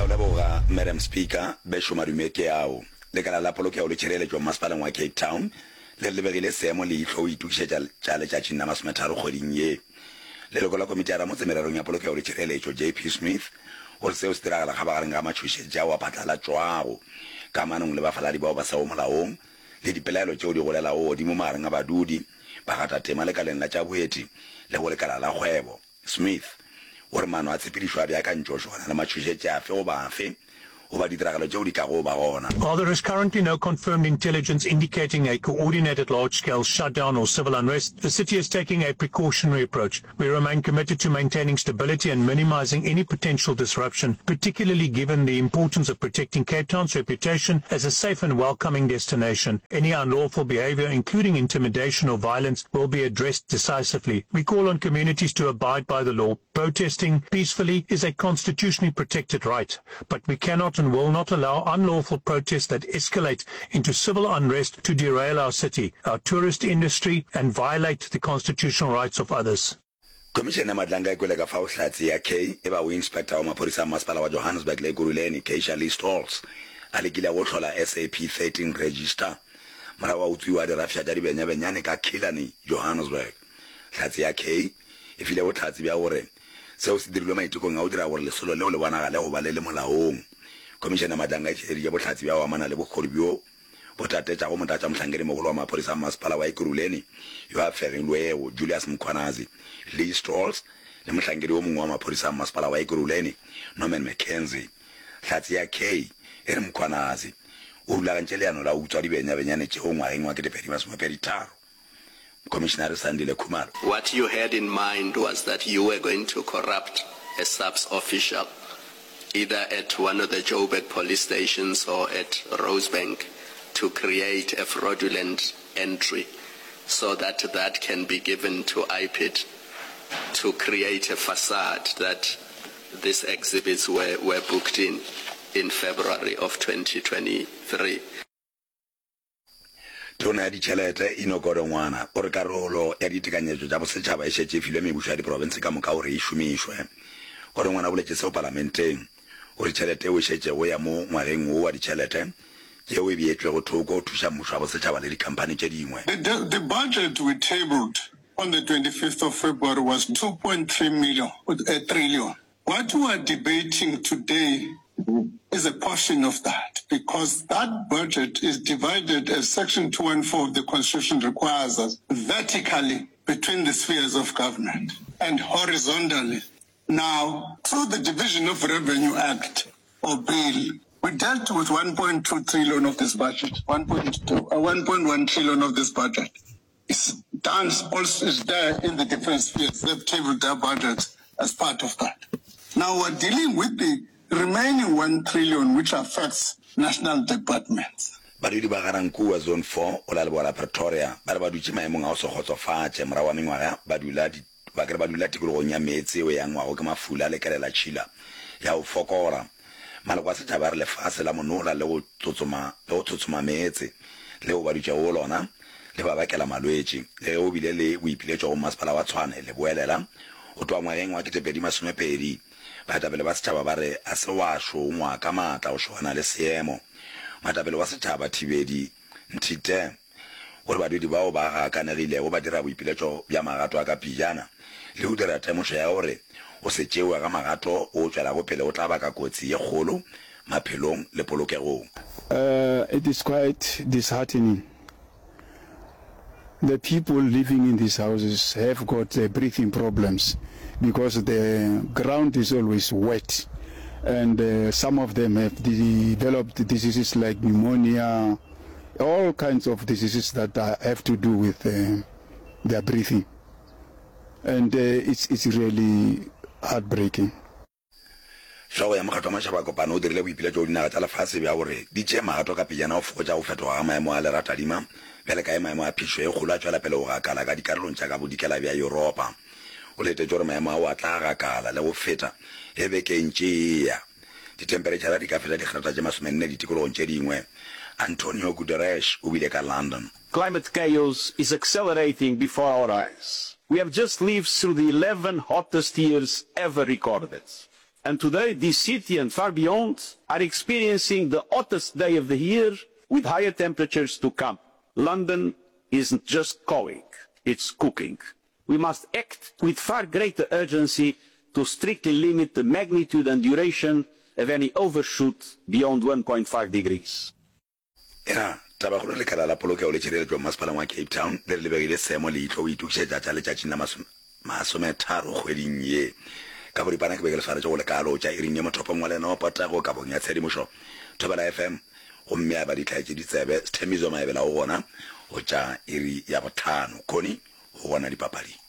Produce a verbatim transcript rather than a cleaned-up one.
Ke a o leboga, Madam Speaker. Bešo madume ke ao. Lekala la Polokego le Tšhireletšo Mmasepaleng wa Cape Town le re le begile seemo leihlo go itokišetša tša letšatšing la masometharo kgweding ye. Leloko la Komiti ya Ramotse Mererong ya Polokego le Tšhireletšo, J P Smith, o re seo se diragala kgabagareng ga matšhošetši ao a phatlalatšwago kamanong le bafaladi bao ba sego molaong le dipelaelo tšeo di golelago godimo magareng a badudi, bagatatema lekaleng la tša boeti le go lekala la kgwebo. Smith o re maano a tshepedišo a beakantšwe go šogana le matšhošetši afe goba afe goba ditiragalo tšeo di tlago ba gona. While there is currently no confirmed intelligence indicating a coordinated large-scale shutdown or civil unrest, the city is taking a precautionary approach. We remain committed to maintaining stability and minimizing any potential disruption, particularly given the importance of protecting Cape Town's reputation as a safe and welcoming destination. Any unlawful behavior, including intimidation or violence, will be addressed decisively. We call on communities to abide by the law. Protesting peacefully is a constitutionally protected right, but we cannot and will not allow unlawful protests that escalate into civil unrest to derail our city, our tourist industry, and violate the constitutional rights of others. Khomišene ya Madlanga e kwele ka fao hlatse ya K e bago inspekta wa maphodisa a Mmasepala wa Johannesburg le Ekurhuleni, Keisha Lee Stoltz, a lekilego go hlola S A P thirteen register morago ga go utswiwa ga dirafša tša dibenyabenyane ka Killarney, Johannesburg. Hlatse ya K e file bohlatse bja gore seo se dirilwe maitekong a go dira gore lesolo leo le bonagale go ba le le molaong. Khomišene ya Madlanga e tšweleditše bohlatse bja go amana le bokgoni bjo bo tatetšago motlatšamohlankedimogolo wa maphodisa a Mmasepala wa Ekurhuleni yo a fegilwego, Julius Mkhwanazi, Lee Strolls le mohlankedi yo mongwe wa maphodisa a Mmasepala wa Ekurhuleni, Norman McKenzie. Hlatse ya K e re Mkhwanazi o rulagantše leano la go utswa dibenyabenyane tšeo ngwageng wa ketepedi masomepedi tharo. Mokomišenare Sandile Khumalo. What you had in mind was that you were going to corrupt a SAPS official either at one of the Joburg police stations or at Rosebank to create a fraudulent entry so that that can be given to I P I D to create a facade that these exhibits were, were booked in in February of twenty twenty-three. Tona ya Ditšhelete, Enoch Godongwana, o re karolo ya ditekanyetšo tša bosetšhaba e šetše e filwe mebušo ya diprofense ka moka gore e šomišwe. Godongwana o boletše seo palamenteng. O re tšhelete yeo e šetšego ya mo ngwageng wo wa ditšhelete ke yeo e beetšwego thoko go thuša mmušo wa bosetšhaba le dikhamphani tše dingwe. The, the budget we tabled on the twenty-fifth of February was two point three million, uh, trillion. What we are debating today is a portion of that, because that budget is divided, as Section two one four of the Constitution requires us, vertically between the spheres of government and horizontally. Now, through the Division of Revenue Act or bill, we dealt with one point two trillion of this budget, one point two, uh, one point one trillion of this budget. It's done, also is there in the different spheres. They've tabled their budgets as part of that. Now we're dealing with the remaining one trillion, which affects national departments. Badudi ba Ga-Rankuwa Zone four go la leboa la Pretoria ba re ba dutše maemong a go se kgotsofatše morago ga mengwaga ba dula ba ke re ba dula tikologong ya meetse yeo e angwago ke mafula le kelelatšhila ya go fokola. Maloko a setšhaba a re lefase la monola le go tsotsoma le go tshotsoma meetse leo ba dutšego go lona le ba bakela malwetši. Le ge go bile le boipiletšo go Mmasepala wa Tshwane leboelela go tloga ngwageng wa ketepedi masomepedi, baetapele ba setšhaba ba re a se wa šongwa ka maatla go šogana le seemo. Moetapele wa setšhaba Thibedi Nthite o re badudi bao ba gakanegilego ba dira boipiletšo bja magato a ka pejana le go dira temošo ya gore go se tšewe ga magato o tšwelago pele go tla baka kotsi ye kgolo maphelong le polokegong. Uh, it is quite disheartening. The people living in these houses have got uh, breathing problems because the ground is always wet, and uh, some of them have developed diseases like pneumonia, all kinds of diseases that uh, have to do with uh, their breathing, and uh, it's, it's really heartbreaking. Hlogo ya Mokgatlo wa Matšhaba a Kopano o dirile boipiletšo go dinaga tša lefase bja gore di tšee magato ka pejana go fokotša go fetoga ga maemo a leratadima bjale ka ge maemo a phišo e kgolo a tšwela pele go gakala ka dikarolong tša ka bodikela bja Yuropa. O letetše gore maemo ao a tla gakala le go feta ge beke e ntše e eya. Dithemperetšhara di ka feta digrata tše masomenne ditikologong tše dingwe. Antonio Guterres o bile ka London. Climate chaos is accelerating before our eyes. We have just lived through the eleven hottest years ever recorded. And today, this city and far beyond are experiencing the hottest day of the year with higher temperatures to come. London isn't just calling, it's cooking. We must act with far greater urgency to strictly limit the magnitude and duration of any overshoot beyond one point five degrees. Ena tabakgolo lekala la polokego le tšhireletšo mmasepaleng wa Cape Town le re le begile seemo leihlo go itokišetša tša letšatšing la masometharo kgweding ye. Ka boripana ke be ke le swaretše go le kaalo tša iring ye mothopong wa lena wa potego kabong ya tshedimošo Thobela F M gomme ya ba di hlaetše ditsebe Sthembiso Maebela o gona go tša iri ya bohlano. Connie o gona dipapading.